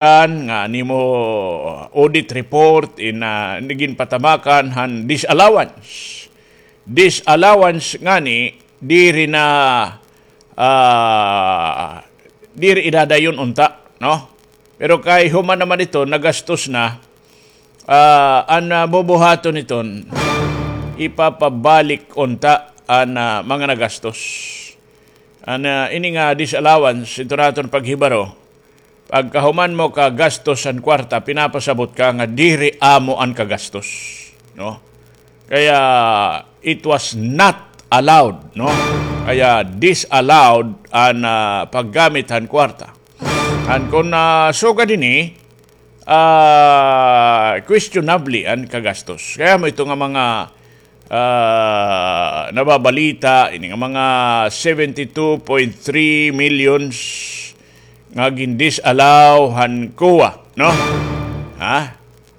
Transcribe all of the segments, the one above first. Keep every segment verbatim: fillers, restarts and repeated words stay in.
nga nimo audit report in, ah, ginpatamakan han disallowance. Disallowance ngani diri na, ah, diri idadayon unta, no? Pero kay human naman iton, nagastos na, ah, an, ah, bubuhaton iton, ipapabalik unta an, ah, mga nagastos. An, ah, ini nga disallowance, ito naton paghibaro. Pagkahuman mo kagastos an kwarta, pinapasabot ka nga diri amo an kagastos, no? Kaya, it was not allowed, no? Kaya, disallowed an, ah, paggamit han kwarta. An kun, ah, sugad ini, ah, questionable an kagastos. Kaya mo ito nga mga, ah, nababalita, ini nga mga seventy-two point three millions nga gin-disallow han COA, no? Ha?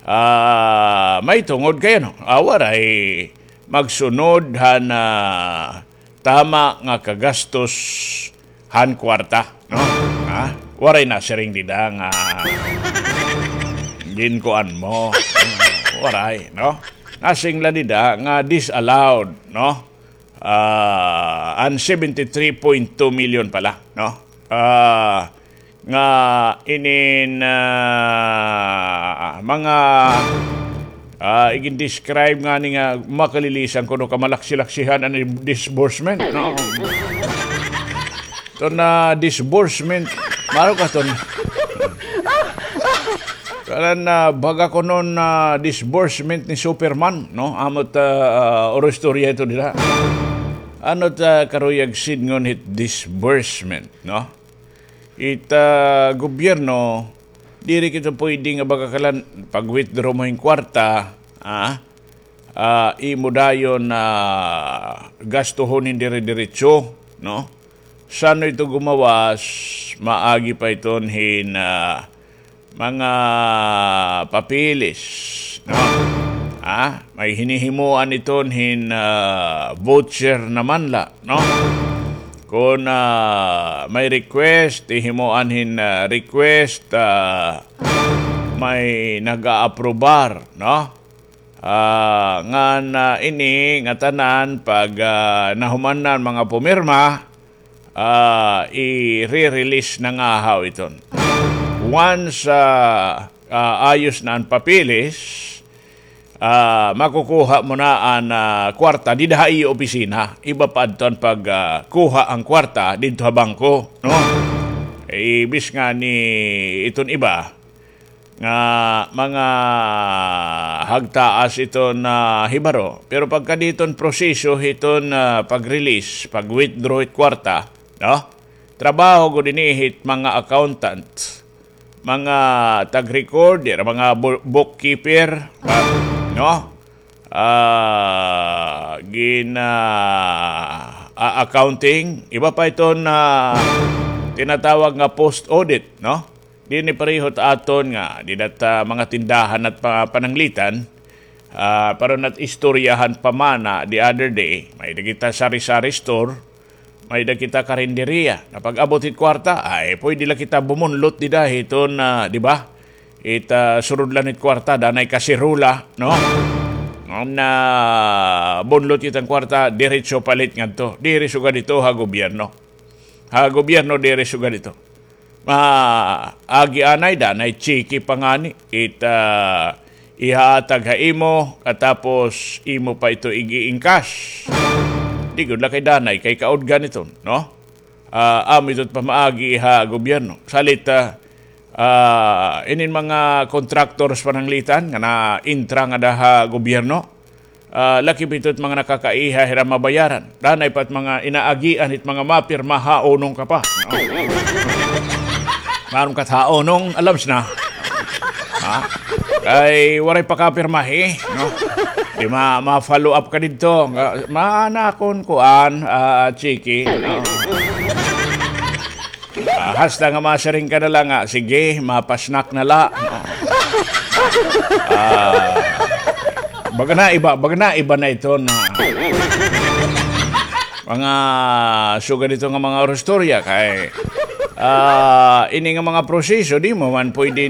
Ah, may tungod kay ano, ah, waray magsunod han, ah, tama nga kagastos han kwarta, no? Ha? Waray nasiring dida nga ginkuan mo. Waray, no? Nasiring la dida nga disallowed, no? Ah, an seventy-three point two million pala, no? Ah, nga inin, ah, mga, ah, igin-describe ngani nga makalilisan kuno kamalaksi-laksihan an disbursement, no? Ito na disbursement, maro ka ton. Kanan na baga kuno nga disbursement ni Superman, no? Amo it, ah, oro istorya ito dida. Ano it karuyag sidngon hit disbursement, no? It, ah, gobyerno, diri kita pwede nga baga kanan pag-withdraw mo hin kwarta, ah, ah, imo dayon, ah, gastuhon hin dire-diretso, no? San-o ito gumawas, maagi pa iton hin, ah, mga papeles, no? Ah, may hinihimoan iton hin, ah, voucher naman la, no? Kun, ah, may request, hihimoan hin, ah, request, ah, may nag-aaprobar, no? Ah, ngan, ah, ini ngatanan pag, ah, nahuman na an mga pumirma, ah, i-re-release na ngahaw iton. Once, ah, ah, ayos na an papeles, ah, makukuha mo na an, ah, kwarta dida ha iyo opisina. Iba pa adto an pag, ah, kuha an kwarta didto ha bangko, no? Ibis ngani iton iba, nga mga hagtaas iton hibaro. Pero pagkadi hiton proseso hiton, ah, pag-release, pag-withdraw hit kwarta, no? Trabaho gud ini hit mga accountant, mga tag-record, dira mga bu-, bookkeeper, ah, no? Ah, gin, ah, a-, accounting, iba pa iton tinatawag nga post-audit, no? Dinhi pareho it aton nga, dida it mga tindahan at pa-, pananglitan, ah, pareho nat istoryahan pa man the other day, may-ada kita sari-sari store, may-ada kita karinderiya. Na pag-abot hit kwarta, ay, pwede la kita bumunlot dida hiton, ah, di ba? It, ah, surudlan hit kwarta, danay kasirola, no? Ngan, ah, bunlot kita an kwarta, diretso palit ngadto. Diri sugad ito ha gobyerno. Ha gobyerno, diri sugad ito. Maagi anay, danay tsiki pa ngani. It, ah, ihahatag ha imo, katapos imo pa ito ig-i-encash. Di gud la kay danay, kay kaudgan ito, no? Ah, amo ito it pamaagi ha gobyerno. Salit, ah, ah, inin mga contractors pananglitan nga na-intra ngada ha gobyerno, ah, lakip ito it mga nakakaiha hira mabayaran. Danay pa it mga inaagian hit mga mapirma, haunong ka pa. Maaram ka it haunong, alams na. Ha? Kay waray pa kapirmahi, no? Di ma-, ma-follow up ka didto. Nga, maana akon kuan, ah, tsiki. Oo. Ah, hasta nga masiring ka na la nga, sige, mapasnak na la. Ah, baga na iba, baga na iba na iton mga sugad hito nga mga orostorya kay, Ah, ini nga mga proseso, di mo man pwede ni